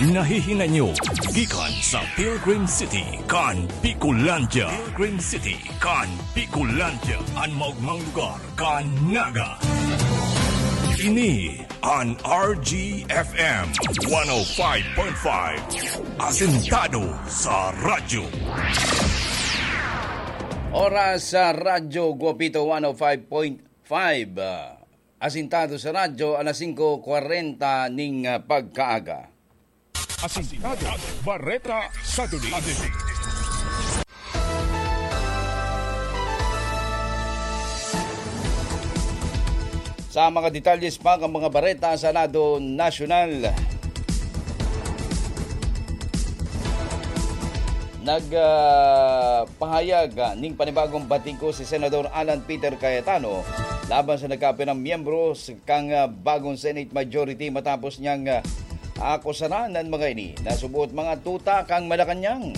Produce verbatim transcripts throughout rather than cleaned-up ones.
Nahihinanyo gikan sa Pilgrim City kan Bicolandia. Pilgrim City kan Bicolandia, an maogmang lugar kan Naga. Ini an R G F M one oh five point five, asentado sa radyo. Oras sa Radyo Guapito one oh five point five, ah, asentado sa radyo, alas singko kwarenta ning, ah, pagkaaga. Asentado, Bareta sa Duli. Sa mga detalye pa kan mga bareta sa lado nasyonal, nag, ah, pahayag, ah, ning panibagong batiko si Senador Alan Peter Cayetano laban sa nagkapirang miyembro s-, kan, ah, bagong Senate majority matapos niyang, ah, akusaran an mga ini na suboot mga tuta kan Malacañang.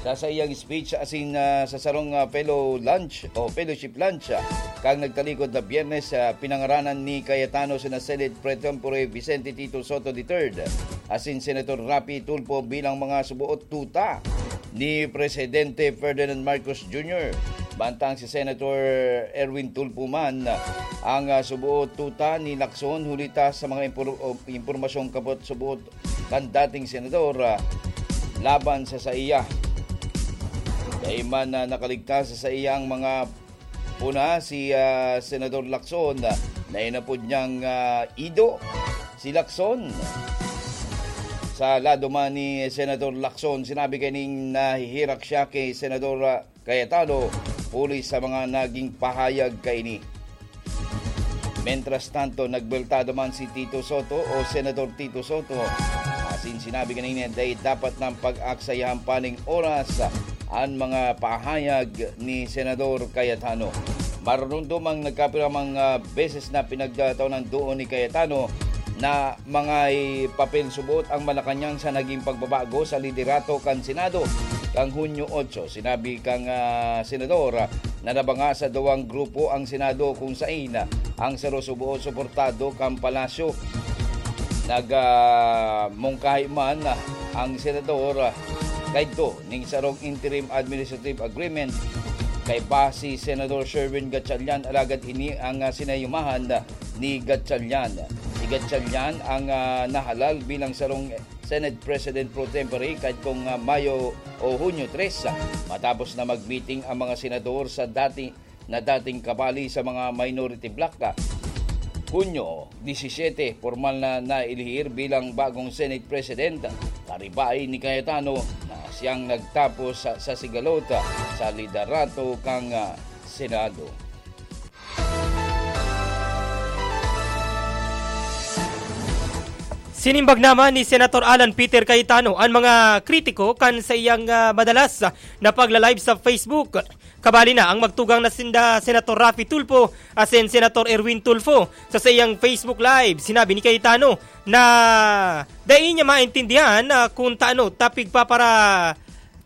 Sa saiyang speech asin, ah, sa sarong, ah, fellow lunch o fellowship lunch, ah, kan nagtalikod na Biyernes, ah, pinangaranan ni Cayetano sina Senate Pro Tempore Vicente Tito Sotto the third asin Senator Raffy Tulfo bilang mga suboot tuta ni Presidente Ferdinand Marcos Junior. Mantang si Senator Erwin Tulfo man ang, ah, suboot tuta ni Lacson, huli ta sa mga impor-, o, impormasyong kabot suboot kan dating senador, ah, laban sa saiya. Dai man, ah, nakaligtas sa saiyang mga puna si, ah, Senador Lacson, ah, na inapod niyang, ah, ido si Lacson. Sa lado man ni Senador Lacson, sinabi kaining nahihirak siya kay Senador, ah, Cayetano, huli sa mga naging pahayag kaini. Mientras tanto, nagbeltado man si Tito Sotto o Senador Tito Sotto, asin sinabi kanina, dai dapat nang pag-aksayahan pa ning oras an mga pahayag ni Senador Cayetano. Marunong dumang nagkapira mga beses na pinagtaon ang duo ni Cayetano na mga papel subot ang Malacañang sa naging pagbabago sa liderato kan Senado kan Hunyo otso. Sinabi kan, ah, senador, ah, na nabanga sa duwang grupo ang Senado kung sain, ah, ang saro suboot suportado kan Palasyo. Nag, ah, mungkahi man, ah, ang senador, ah, kaidto ning sarong interim administrative agreement kaiba si Senador Sherwin Gatchalian, alagad ini ang, ah, sinayumahan, ah, ni Gatchalian. Si Gatchalian ang, ah, nahalal bilang sarong Senate President pro tempore kaidtong, ah, Mayo o Hunyo tres, ah, matapos na mag-meeting ang mga senador sa dati, na dating kabali sa mga minority bloc, ah. Hunyo disisete, pormal na nailihir bilang bagong Senate President, karibain ni Cayetano na siyang nagtapos sa, sa sigalot, ah, sa liderato kan, ah, Senado. Sinimbag naman ni Senator Alan Peter Cayetano an mga kritiko kan sa iyang, ah, madalas na pagla-live sa Facebook. Kabali na ang magtugang na sinda Senator Raffy Tulfo asin Senator Erwin Tulfo. Sa saiyang Facebook Live, sinabi ni Cayetano na dai niya maintindihan, ah, kung taano ta pigpapara-,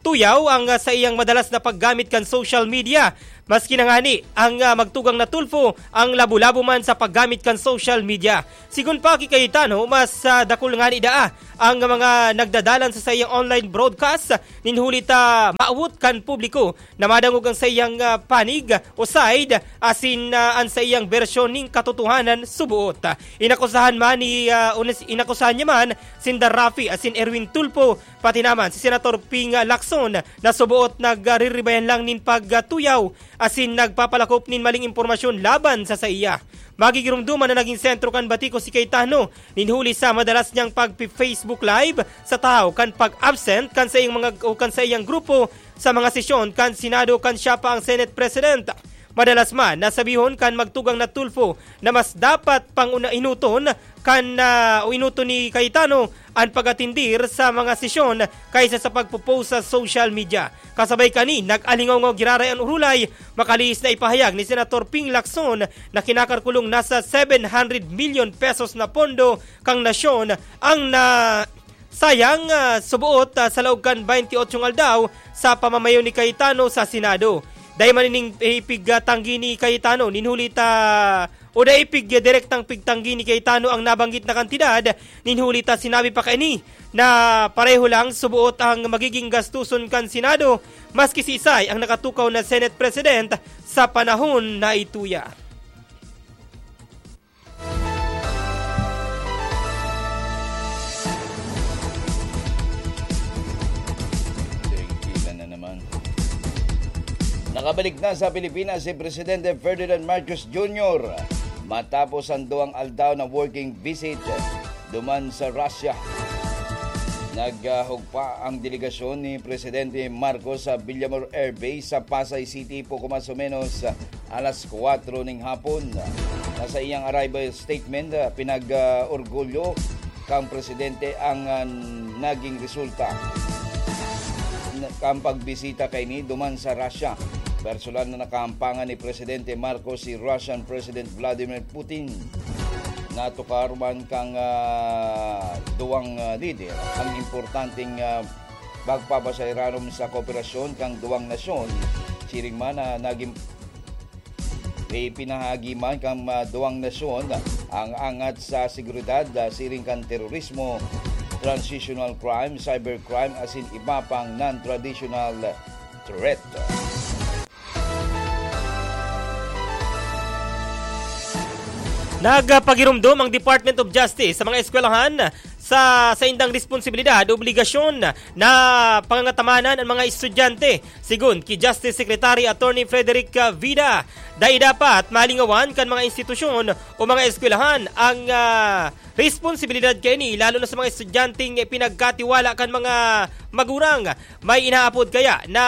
tuyaw ang, ah, saiyang madalas na paggamit kan social media. Maski na ngani ang, ah, magtugang na Tulfo ang labo-labo man sa paggamit kan social media. Sigon pa ki Cayetano, mas, ah, dakul ngani daa ang mga nagdadalan sa saiyang online broadcast nin huli ta maawot kan publiko na madangog ang saiyang, ah, panig o side asin, ah, an saiyang bersyon nin katotohanan suboot. Inakusahan man ni, ah, unis-, inakusahan niya man sinda Raffy asin Erwin Tulfo, pati naman si Senator Ping Lacson na suboot nagriribayan lang nin pagtuyaw asin nagpapalakop nin maling impormasyon laban sa saiya. Magigiromdoman na naging sentro kan batiko si Cayetano nin huli sa madalas niyang pagpi-Facebook Live sa tahaw kan pag-absent kan saiyang mga o kan saiyang grupo sa mga sesyon kan Senado kan siya pa ang Senate President. Madalas man nasabihon kan magtugang na Tulfo na mas dapat pang una-, inuton kan, ah, o inuton ni Cayetano an pag-atendir sa mga sesyon kaysa sa pagpo-post sa social media. Kasabay kani, nag-alingaw-ngaw giraray an urulay, makalihis na ipahayag ni Senator Ping Lacson na kinakalkulong nasa seven hundred milyon pesos na pondo kan nasyon ang na sayang, ah, suboot, ah, sa laog kan baynte otsong aldaw sa pamamayo ni Cayetano sa Senado. Dai man ining ipigtanggi ni Cayetano nin huli ta o dai pig-, direktang pigtanggi ni Cayetano ang nabanggit na kantidad, nin huli ta sinabi pa kaini na pareho lang suboot ang magiging gastuson kan Senado, maski siisay ang nakatukaw na Senate President sa panahon na ituya. Nakabalik na sa Pilipinas si Presidente Ferdinand Marcos Junior matapos ang duwang aldaw na working visit duman sa Russia. Naghugpa ang delegasyon ni Presidente Marcos sa Villamor Air Base sa Pasay City, poco mas o menos alas kwatro ning hapon. Sa iyang arrival statement, pinag-orgulyo kan presidente ang, ah, naging resulta kan pagbisita kaini duman sa Russia. Personal na nakaampangan ni Presidente Marcos si Russian President Vladimir Putin. Natukar man kan, ah, duwang, ah, lider ang importanteng, ah, pagpapasayranom sa kooperasyon kan duwang nasyon. Siring man na naging ipinahagi man kan, ah, duwang nasyon ang angat sa seguridad, ah, siring kan terorismo, transitional crime, cybercrime, asin iba pang non-traditional threat. Nagpagiromdom ang Department of Justice sa mga eskwelahan sa saindang responsibilidad o obligasyon na pangangatamanan ang mga estudyante. Sigon ki Justice Secretary Attorney Frederick, ah, Vida, dai dapat malingawan kan mga institusyon o mga eskwelahan ang, ah, responsibilidad kaini, lalo na sa mga estudyanteng pinagkatiwala kan mga magurang. May inaapod kaya na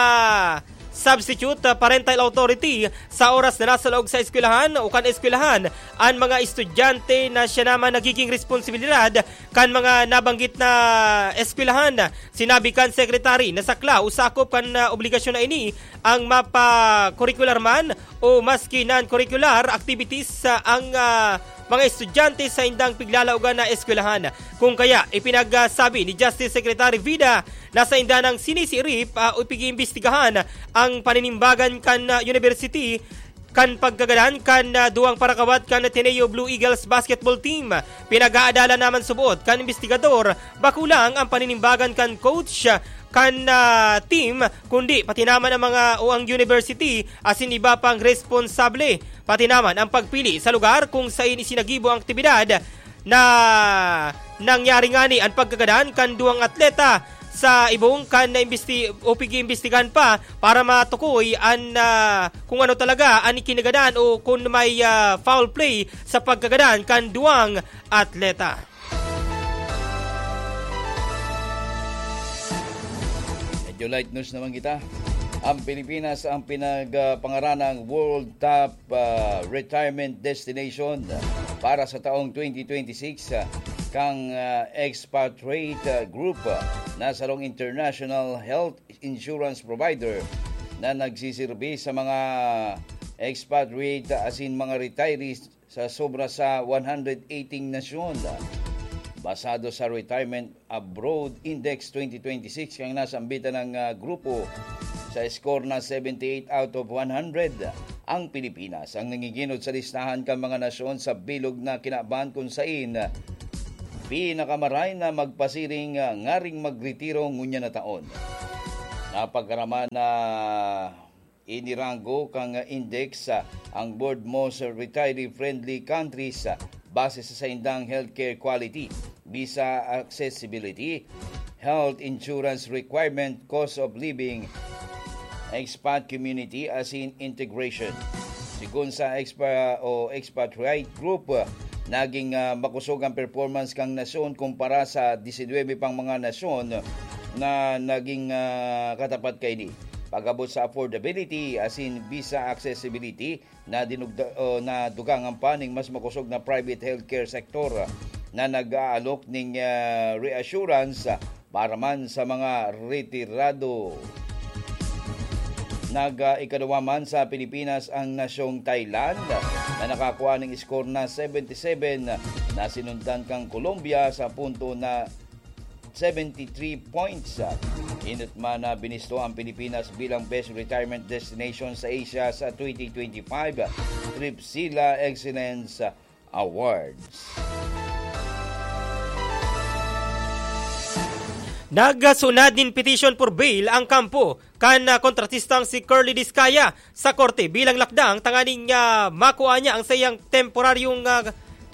substitute, ah, parental authority sa oras na nasa laog sa eskwelahan o kan eskwelahan an mga estudyante na siya naman nagiging responsibilidad kan mga nabanggit na eskwelahan. Sinabi kan Secretary na sakla o sakop kan, ah, obligasyon na ini ang mapa-curricular man o maski non-curricular activities sa ang, ah, mga estudyante sa indang piglalaogan na eskwelahan. Kung kaya, ipinagsabi ni Justice Secretary Vida na sa inda nang sinisiirip, ah, o pag-iimbestigahan ang paninimbagan kan, ah, university kan pagkagadan kan, ah, duwang parakawat kan Ateneo Blue Eagles basketball team. Pinag-aadalan naman subot kan imbestigador, bako lang ang paninimbagan kan coach kan, ah, team, kundi pati naman ang mga o ang university asin iba pang responsable, pati naman ang pagpili sa lugar kung sain isinagibo ang aktibidad na nangyari ngani an pagkagadan kan duwang atleta sa ibong kan naimbesti-, o pig-iimbestigahan pa para matukoy an, ah, kung ano talaga an ikinagadan o kung may, ah, foul play sa pagkagadan kan duwang atleta. Medyo light news naman kita. Ang Pilipinas ang pinagpangaranang World Top, ah, Retirement Destination para sa taong twenty twenty-six, ah, kang, ah, Expatriate, ah, Group, ah, na sarong international health insurance provider na nagsisirbi sa mga expatriate asin mga retirees sa sobra sa one hundred eighteen nasyon. Basado sa Retirement Abroad Index twenty twenty-six, kang nasambitan ng, ah, grupo sa score na seventy-eight out of one hundred, ang Pilipinas ang nangiginot sa listahan kan mga nasyon sa bilog na kinaban, kun sain pinakamaray na magpasiring, ah, ngaring magretiro ngunyan na taon. Napagkaraman na iniranggo kang index, ah, ang Board Most Retiree-Friendly Countries, ah, base sa saindang healthcare quality, visa accessibility, health insurance requirement, cost of living, expat community, asin integration. Sigon sa expa-, o expatriate group, ah, naging, ah, makosog ang performance kan nasyon kumpara sa disinwebe pang mga nasyon na naging, ah, katapat kaini. Pag-abot sa affordability, asin visa accessibility, na dinugda-, o nadugangan pa ning mas makosog na private healthcare sector, ah, na nag-aalok ning, ah, reassurance, ah, para man sa mga retirado. Nag, ah, ikaduwa man sa Pilipinas ang nasyong Thailand, na nakakua ning score na seventy-seven, na sinundan kang Colombia sa punto na seventy-three points. Inot man na binisto ang Pilipinas bilang best retirement destination sa Asia sa twenty twenty-five, Tripsila Excellence Awards. Nagsunad nin petition for bail ang kampo kan, ah, kontratistang si Curly Discaya sa korte bilang lakdang tanganing, ah, makua niya ang saiyang temporaryong, ah,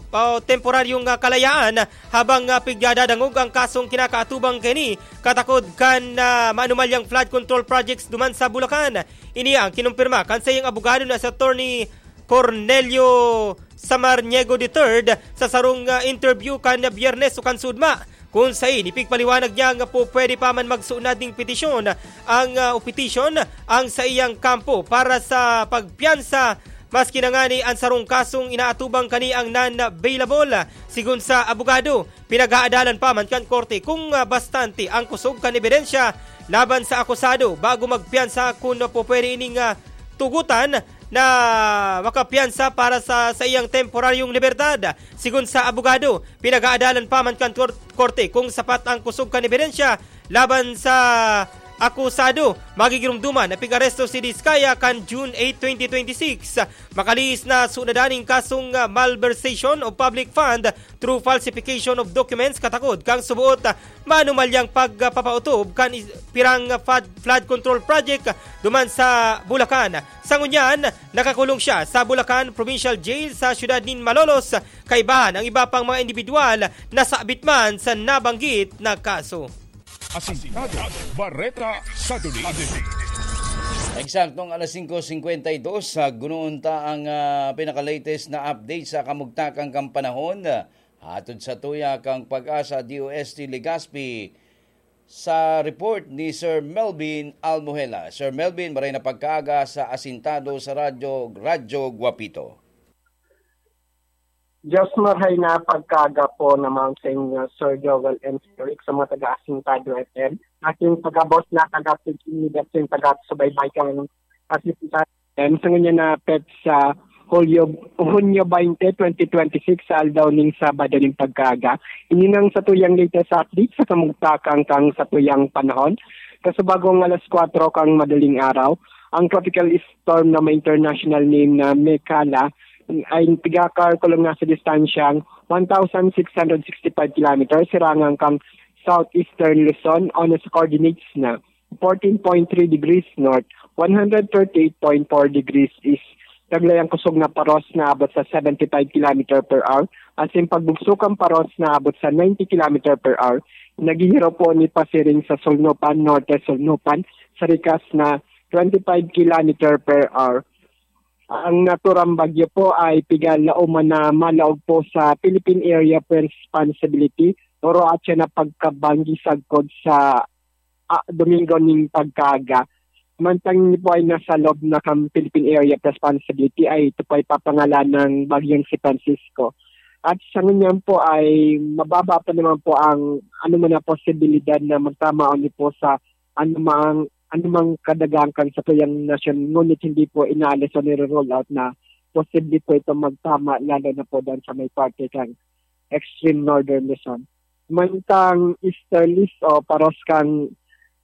o temporaryong, ah, kalayaan habang, ah, pigdadadangog ang kasong kinakaatubang kaini katakod kan, ah, maanumalyang flood control projects duman sa Bulacan. Ini ang kinumpirma kan saiyang abogado na si Attorney Cornelio Samaniego the third sa sarong, ah, interview kan Biyernes o kan Sudma, kun saen ipigpaliwanag niya nga po pwede pa man magsunad ning petisyon ang, ah, o petition ang saiyang kampo para sa pagpiyansa, maski na ngani an sarong kasong inaatubang kani ang non-bailable. Sigon sa abogado, pinag-aadalan pa man kan korte kung, ah, bastante ang kusog kan ebidensya laban sa akusado bago magpiyansa kun po pwede ining, ah, tugutan na makapiyansa para sa saiyang temporaryong libertad. Sigon sa abogado, pinag-aadalan pa man kan kor-, korte kung sapat ang kusog kan ebidensya laban sa akusado. Magigirumduman na pig-aresto si Discaya kan June eight, twenty twenty-six. Makalihis na sunadan ning kasong, ah, malversation of public fund through falsification of documents katakod kan subuot, ah, maanumalyang pagpapautob kan is-, pirang, ah, fad-, flood control project, ah, duman sa Bulacan. Sa ngunyan, nakakulong siya sa Bulacan Provincial Jail sa siyudad nin Malolos. Kaibahan ang iba pang mga indibidwal na sabit man sa nabanggit na kaso. Asintado, Bareta sa Duli. Eksaktong alas singko singkwenta y dos, sa gunoon ta ang, ah, pinaka-latest na update sa kamugtakan kan panahon. Hatod sa tuya kang Pag-asa D O S T Legazpi sa report ni Sir Melvin Almohela. Sir Melvin, maray na pagkaaga sa Asintado sa Radyo, Radyo Guapito. Diyos marhay na pagkaaga po naman sa inyo, Sir Joel and Sir Rick, sa mga taga-Asintado F M. Aking pagabot na taga-tigil ni Dustin, taga-subaybay kang Asintado F M. Sa ngunyan na petsa, Hulyo, Hunyo twenty, twenty twenty-six, sa aldaw ning Sabado ning pagkaaga. Ini nang satuyang latest update sa kamugtakan kang satuyang panahon. Kasubagong alas kwatro kang madaling araw, ang tropical storm na may international name na Mekala ay tigakalkulong na sa distansyang one thousand six hundred sixty-five kilometers, sirangan kang southeastern Luzon, o nasa coordinates na fourteen point three degrees north, one hundred thirty-eight point four degrees east. Taglay ang kusog na paros na abot sa seventy-five kilometer per hour, asin pagbugso kan paros na abot sa ninety kilometer per hour. Naghihiro po ni pasiring sa Sulnupan, Norte Sulnupan, sa rikas na twenty-five kilometer per hour. Ang naturang bagyo po ay pigalaoman na malaog po sa Philippine Area of Responsibility, oro atya na pagkabanggi sagkod sa, ah, Domingo ning pagkaaga. Mantang ini po ay nasa loob na kan Philippine Area of Responsibility, ay ito po ay papangalan ng Bagyong si Francisco. At sa ngunyan po ay mababa pa naman po ang anuman na posibilidad na magtama o ni po sa anumang, anumang kadagang kan satuyang nasyon, ngunit hindi po inaalis o nire-rule out na posible po ito magtama, lalo na po dyan sa may parte kang extreme northern Luzon. Mantang easterlies o paros kang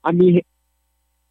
ami-,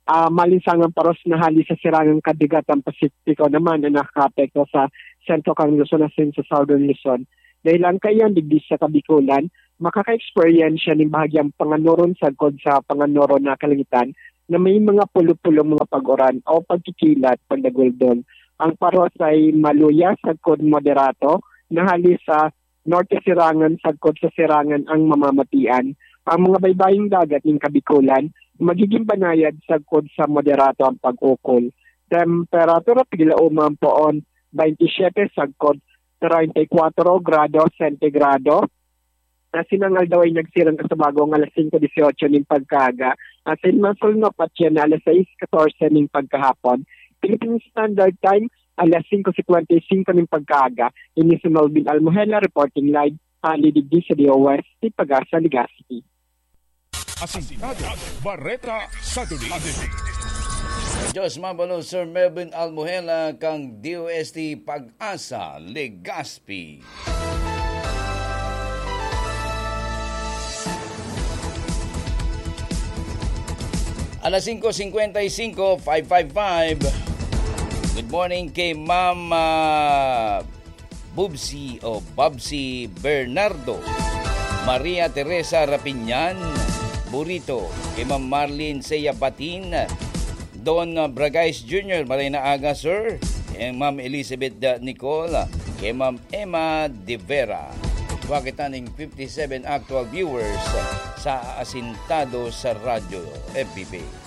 ah, malinsangang paros na hali sa sirangang kadagatan Pasipiko naman ang nakakaapekto sa sentro kang Luzon asin sa southern Luzon. Dahil ang kaiyan digdi sa Kabikulan, makaka-eksperyensya nin bahagyang panganoron sagkod sa panganoron na kalangitan na may mga pulo-pulo mga pag-uran o pagkikilat, pagdaguldol. Ang paros ay maluya sagkod moderato na hali sa norte sirangan sagkod sa sirangan ang mamamatian. Ang mga baybaying dagat nin Kabikulan magiging banayad sagkod sa moderato ang pag-ukol. Temperatura, piglaoman poon twenty-seven sagkod treinta y cuatro grado sentigrado. Asin ang aldaw ay nagsirang kasabagong alas singko dieciocho nin pagkaaga. Asin masulnop at yan na alas sais catorce nin pagkahapon. Philippine Standard Time, alas singko cincuenta y cinco nin pagkaaga. Ini si Melvin Almohela reporting live, hali digdi sa D O S, si Pag-asa, Legazpi. Asintado, Bareta sa Duli. Diyos mabalon, Sir Melvin Almohela, kang D O S T Pag-asa, Legazpi. Alas singko cincuenta y cinco, five five five. Morning kay Ma'am, ah, Bubsy o Babsy Bernardo, Maria Teresa Rapinyan Burito, kay Ma'am Marlene Seya Batin, Don Bragais Junior, maray na aga, sir. Kay Ma'am Elizabeth, ah, Nicole, kay Ma'am Emma De Vera. Wa kita ning fifty-seven actual viewers sa Asintado sa Radyo F B page.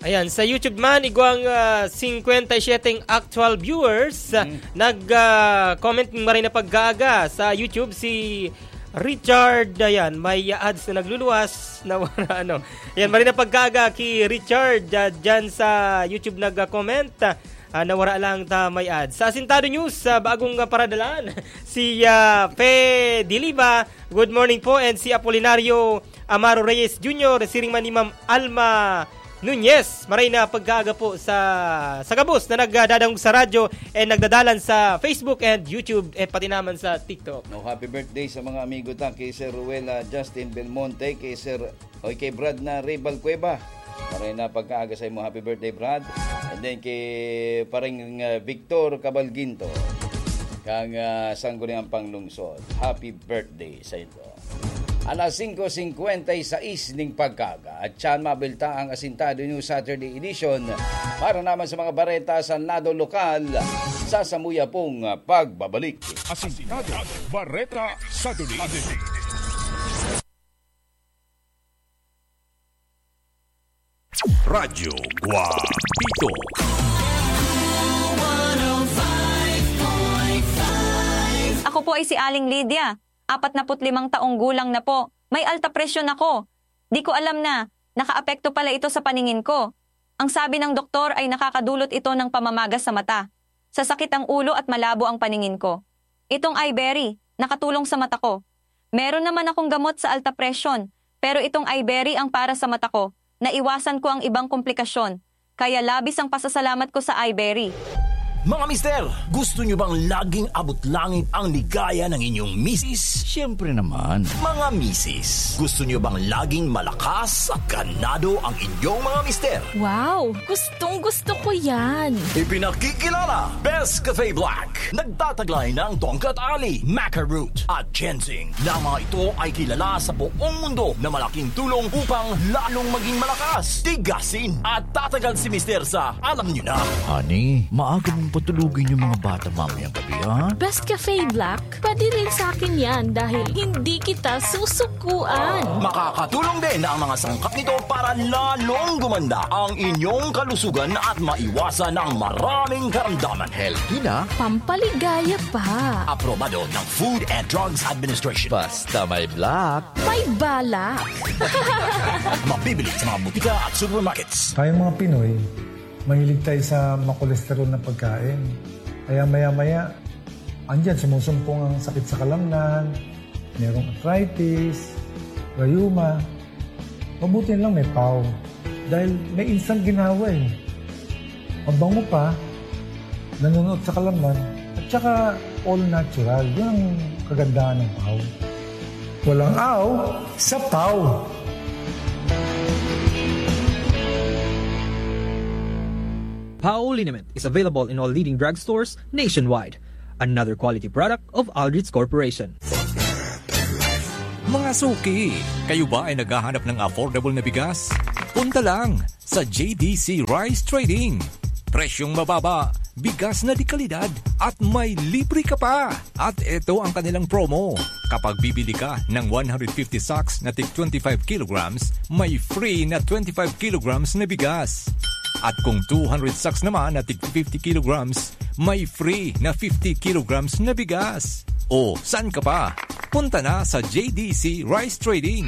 Ayan, sa YouTube man, igwang, ah, singkwenta y siyete actual viewers. Mm. Nag, ah, comment ning maray na pag-aaga sa YouTube si Richard, ayan, may ads na nagluluwas, nawara, ano. Ayan, maray na pag-aaga ki Richard, ah, dyan sa YouTube nag-comment, ah, nawara lang ta may ads. Sa Asintado News, sa bagong, ah, paradalan, si, ah, Fe Diliba, good morning po, and si Apolinario Amaro Reyes Junior, siring man ni Ma'am Alma Nunez, maray na pagkaaga po sa, sa gabos na nagdadangog sa radyo and nagdadalan sa Facebook and YouTube, eh, pati naman sa TikTok. No, happy birthday sa mga amigo ta, kay Sir Ruela Justin Belmonte, kay Sir, oy, kay Brad na Ray Balcueva. Maray na pagkaaga sa imo, happy birthday, Brad. And then kay pareng, uh, Victor Cabalginto, kang, uh, Sangguniang Panglungsod. Happy birthday sa inyo. Alas singko singkwenta y sais ning pagkaaga, at siyan mabilta ang Asintado News Saturday Edition. Para naman sa mga bareta sa lado lokal, sa samuya pong pagbabalik. Asintado Bareta Saturday Edition. Radyo Guapito. Ako po ay si Aling Lydia, apat na put limang taong gulang na po. May alta presyon ako. Di ko alam na nakaapekto pala ito sa paningin ko. Ang sabi ng doktor ay nakakadulot ito ng pamamaga sa mata, sasakit ang ulo at malabo ang paningin ko. Itong Iberry, nakatulong sa mata ko. Meron naman akong gamot sa alta presyon, pero itong Iberry ang para sa mata ko. Naiwasan ko ang ibang komplikasyon, kaya labis ang pasasalamat ko sa Iberry. Mga mister, gusto nyo bang laging abot langit ang ligaya ng inyong misis? Siyempre naman. Mga misis, gusto nyo bang laging malakas at ganado ang inyong mga mister? Wow! Gustong gusto ko yan! Ipinakikilala, Best Cafe Black. Nagtataglay ng Tongkat Ali, Maca Root, at Ginseng, na mga ito ay kilala sa buong mundo na malaking tulong upang lalong maging malakas, tigasin, at tatagal si Mister sa alam nyo na. Honey, maaga mong patulugin yung mga bata mamayang gabi, ha? Best Cafe Black, pwede rin sa akin yan dahil hindi kita susukuan. Makakatulong din ang mga sangkap nito para lalong gumanda ang inyong kalusugan at maiwasan ang maraming karamdaman. Healthy na. Pampaligaya pa. Aprobado ng Food and Drugs Administration. Basta may black. May balak. Mabibili sa mga butika at supermarkets. Tayong mga Pinoy, mahilig tayo sa makolesterol na pagkain. Kaya maya-maya, andyan, sumusumpong ang sakit sa kalamnan, merong arthritis, rayuma. Mabuti lang may pau. Dahil may instant ginhawa eh. Mabango pa, nanunuot sa kalamnan, at saka all natural. Yun ang kagandahan ng pau. Walang aw sa pau. Pau liniment is available in all leading drugstores nationwide. Another quality product of Aldrich Corporation. Mga suki, kayo ba ay naghahanap ng affordable na bigas? Punta lang sa J D C Rice Trading. Presyong mababa, bigas na de kalidad, at may libre ka pa. At eto ang kanilang promo. Kapag bibili ka ng one hundred fifty sacks na tig twenty-five kilograms, may free na twenty-five kilograms na bigas. At kung two hundred sacks naman na tig fifty kilograms, may free na fifty kilograms na bigas. O, saan ka pa? Punta na sa J D C Rice Trading.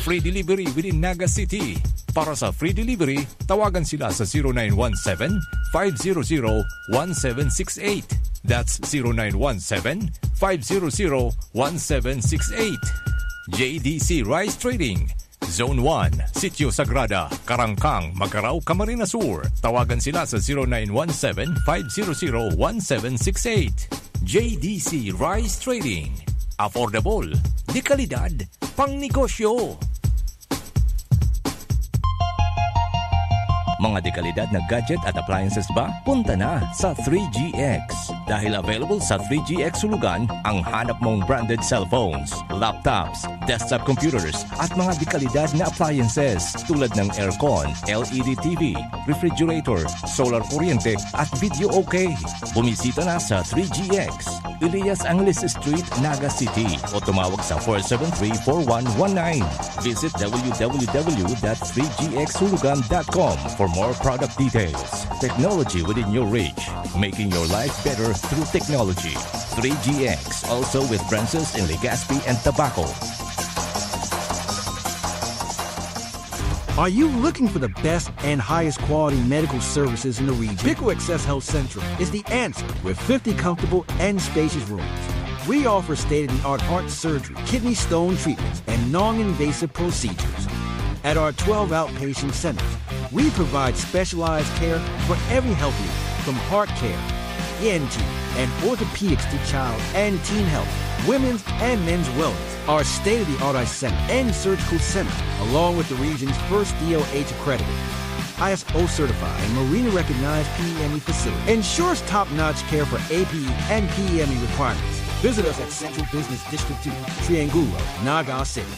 Free delivery within Naga City. Para sa free delivery, tawagan sila sa zero nine one seven, five zero zero, one seven six eight. That's zero nine one seven, five zero zero, one seven six eight. J D C Rice Trading, Zone one, Sitio Sagrada, Carangcang, Magarao, Camarines Sur. Tawagan sila sa zero nine one seven, five zero zero, one seven six eight. J D C Rice Trading. Affordable, de kalidad, pangnegosyo. Mga dekalidad na gadget at appliances ba? Punta na sa three G X. Dahil available sa three G X Hulugan ang hanap mong branded cellphones, laptops, desktop computers, at mga dekalidad na appliances tulad ng aircon, L E D T V, refrigerator, solar kuryente, at video okay. Bumisita na sa three G X, Elias Angeles Street, Naga City, o tumawag sa four seven three, four one one nine. Visit w w w dot three g x hulugan dot com for more product details. Technology within your reach, making your life better through technology. Three G X, also with branches in Legazpi and Tabaco. Are you looking for the best and highest quality medical services in the region? Pico Access Health Central is the answer. With fifty comfortable and spacious rooms, we offer state-of-the-art heart surgery, kidney stone treatments, and non-invasive procedures. At our twelve outpatient centers, we provide specialized care for every health need, from heart care, E N T, and orthopedics to child and teen health, women's and men's wellness. Our state-of-the-art eye center and surgical center, along with the region's first D O H accredited, I S O certified, and Marina recognized P E M E facility, ensures top-notch care for A P E and P E M E requirements. Visit us at Central Business District two, Triangulo, Naga City.